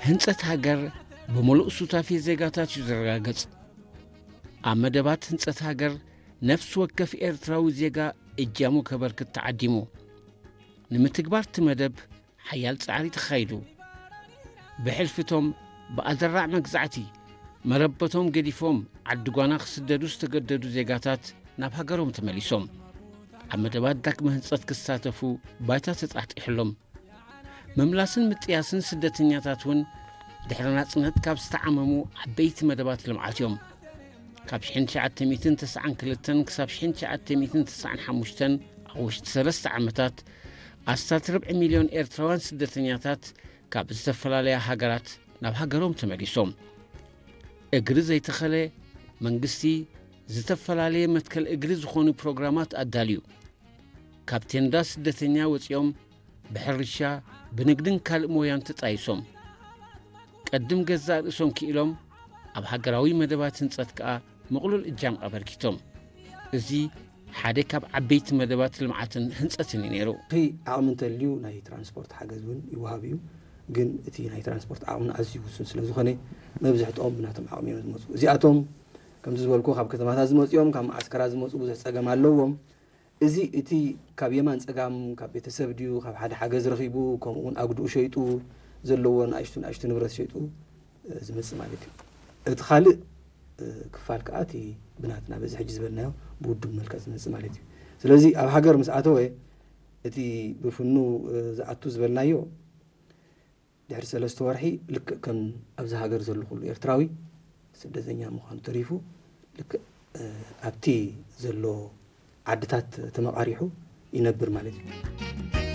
ህንጸት ሃገር ብምሉእ ሱታፌ ዜጋታት እዩ ዝረጋገጽ። ኣብ መደባት ህንጸት ሃገር ነፍሲ ወከፍ ኤርትራዊ ዜጋ እጃሙ ከበርክት ተዓዲሙ። ንምትግባር እቲ መደብ ሓያል ጻዕሪ ተኻይዱ። ብሕልፊቶም ብኣደራዕ መግዛዕቲ መረበቶም ገዲፎም ዓዲ ጓና ክስደዱ ዝተገደዱ ዜጋታት ናብ ሃገሮም ተመሊሶም ኣብ መደባት ዳግመ ህንጸት ክሳተፉ ባይታ ተጣጢሕሎም። ምምላስን ምጥያስን ስደተኛታት እውን ድሕሪ ናጽነት ካብ ዝተዓመሙ ዓበይቲ መደባት ልምዓት እዮም። ካብ ሽሕን ትሽዓተ ሚእትን ተስዓን ክልተን ክሳብ ሽሕን ትሽዓተ ሚእትን ተስዓን ሓሙሽተን ኣብ ውሽጢ ሰለስተ ዓመታት ኣስታት ርብዒ ሚልዮን ኤርትራውያን ስደተኛታት ካብ ዝተፈላለያ ሃገራት ናብ ሃገሮም ተመሊሶም። እግሪ ዘይተኸለ መንግስቲ ዝተፈላለየ መትከል እግሪ ዝኾኑ ፕሮግራማት ኣዳልዩ። ካብ ቴንዳ ስደተኛ ወጺኦም ብሕርሻ፣ ብንግድን ካልእ ሞያን ተጣይሶም ቀድም ገዛእ ርእሶም ክኢሎም ኣብ ሃገራዊ መደባት ህንጸት ከኣ ምቕሉል እጃም ኣበርኪቶም። እዚ ሓደ ካብ ዓበይቲ መደባት ልምዓትን ህንጸትን እዩ ነይሩ። እቲ ዓቕሚ እንተልዩ ናይ ትራንስፖርት ሓገዝ እውን ይወሃብ እዩ። ግን እቲ ናይ ትራንስፖርት ዓቕምና ኣዝዩ ውሱን ስለ ዝኾነ መብዝሕትኦም ብናቶም ዓቕሚ እዮም ዝመፁ። እዚኣቶም ከምዚ ዝበልኩ ካብ ከተማታት ዝመፁ እዮም፣ ካብ መዓስከራት ዝመፁ ብዙሕ ፀገም ኣለዎም። እዚ እቲ ካብ የማን ፀጋም ካብ ቤተሰብ ድዩ ካብ ሓደ ሓገዝ ረኺቡ ከምኡ እውን ኣጉድኡ ሸይጡ ዘለዎ ንኣሽቱ ንኣሽቱ ንብረት ሸይጡ ዝመፅእ ማለት እዩ። እቲ ካልእ ክፋል ከዓ እቲ ብናትና በዚ ሕጂ ዝበልናዮ ብውድብ መልክዕ ዝመፅእ ማለት እዩ። ስለዚ ኣብ ሃገር ምስ ኣተወ እቲ ብፍኑ ዝኣቱ ዝበልናዮ ድሕሪ ሰለስተ ወርሒ ልክዕ ከም ኣብዚ ሃገር ዘሎ ኩሉ ኤርትራዊ ስደተኛ ምዃኑ ተሪፉ ልክዕ ኣብቲ ዘሎ ዓድታት ተመቓሪሑ ይነብር ማለት እዩ።